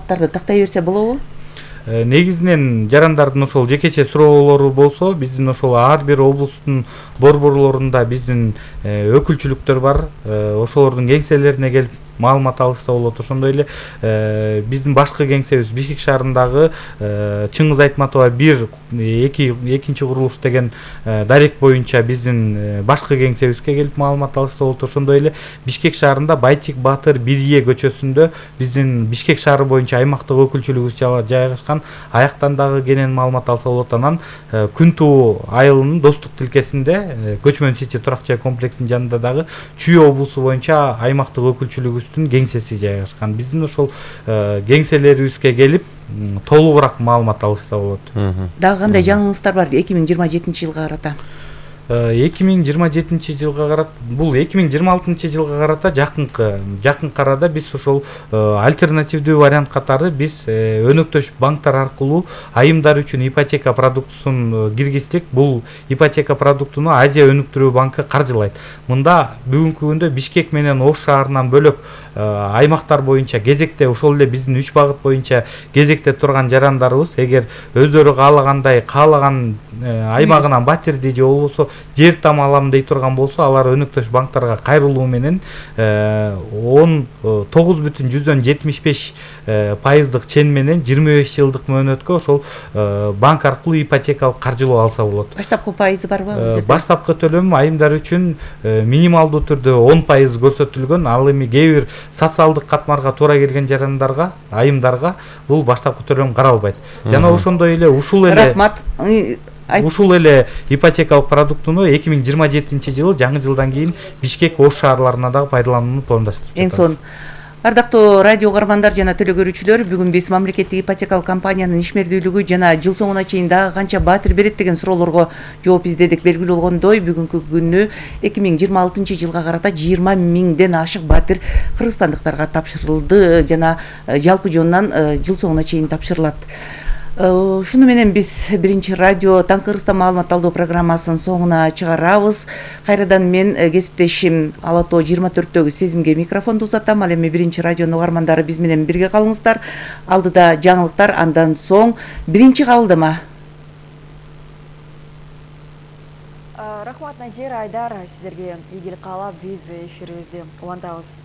маалыматтарды тактай берсе болобу? Негизинен жарандардын ошол жекече суроолору болсо, биздин ошол ар бир облустун борборлорунда биздин өкүлчүлүктөр бар. Ошолордун кеңселерине келип маалымат алышса болот. Ошондой эле биздин башкы кеңсебиз Бишкек шаарындагы Чыңгыз Айтматова 1-2 курулуш деген дарек боюнча биздин башкы кеңсебизге келип маалымат алышса болот. Ошондой эле Бишкек шаарында Байтик Батыр 1Е көчөсүндө биздин Бишкек шаары боюнча аймактык өкүлчүлүгүбүз жайгашкан. Аяктан дагы кенен маалымат алса болот. Анан Күнтүү айылынын Достук тилкесинде Көчмөн Сити турак жай комплексинин жанында дагы Чүй облусу боюнча аймактык өкүлчүлүгүбүздүн кеңсеси жайгашкан. Биздин ошол кеңселерибизге келип толугураак маалымат алышса болот. Дагы кандай жаңылыштар бар 2027-жылга карата? 2027 жылга карата, бул 2026 жылга карата жакын арада биз ошол альтернативдүү вариант катары биз өнөктөш банктар аркылуу айымдар үчүн ипотека продуктусун киргиздик. Бул ипотека продуктуну Азия өнүктүрүү банкы каржылайт. Мында бүгүнкү күндө Бишкек менен Ош шаарынан бөлөк аймактар боюнча кезекте ошол эле биздин 3 багыт боюнча кезекте турган жарандарыбыз эгер өздөрү каалаган аймагынан батирди же болбосо жер там алам дей турган болсо, алар өнөктөш банктарга кайрылуу менен 19,75% чен менен 25 жылдык мөөнөткө ошол банк аркылуу ипотекалык каржылоо алса болот. Баштапкы пайызы барбы? Баштапкы төлөм айымдар үчүн минималдуу түрдө 10% көрсөтүлгөн. Ал эми кээ бир социалдык катмарга туура келген жарандарга, айымдарга бул баштапкы төлөм каралбайт. Жана ошондой эле ушул эле ипотекалык продуктуну 2027 жылы жаңы жылдан кийин Бишкек, Ош шаарларына дагы пайдаланууну пландаштырып жатабыз. Эң сонун. Ардактуу радио угармандар жана төлөө көрүүчүлөр, бүгүн биз мамлекеттик ипотекалык компаниянын ишмердүүлүгү жана жыл соңуна чейин дагы канча батир берет деген суроолорго жооп издедик. Белгилүү болгондой, бүгүнкү күнү 2026 жылга карата 20 миңден ашык батир кыргызстандыктарга тапшырылды жана жалпы жонунан жыл соңуна чейин тапшырылат. Шуну менен биз биринчи радио Таң Кыргызстан маалымат алдоо программасынын соңуна чыгарабыз. Кайрадан мен кесиптешим Алато 24-төгү Сезимге микрофонду узатам. Ал эми биринчи радионун угармандары биз менен бирге калыңыздар. Алдыда жаңылыктар, андан соң биринчи кабылдама. Рахмат, Назир, Айдар, сиздерге ийгилик каалап биз эфирибизди улантабыз.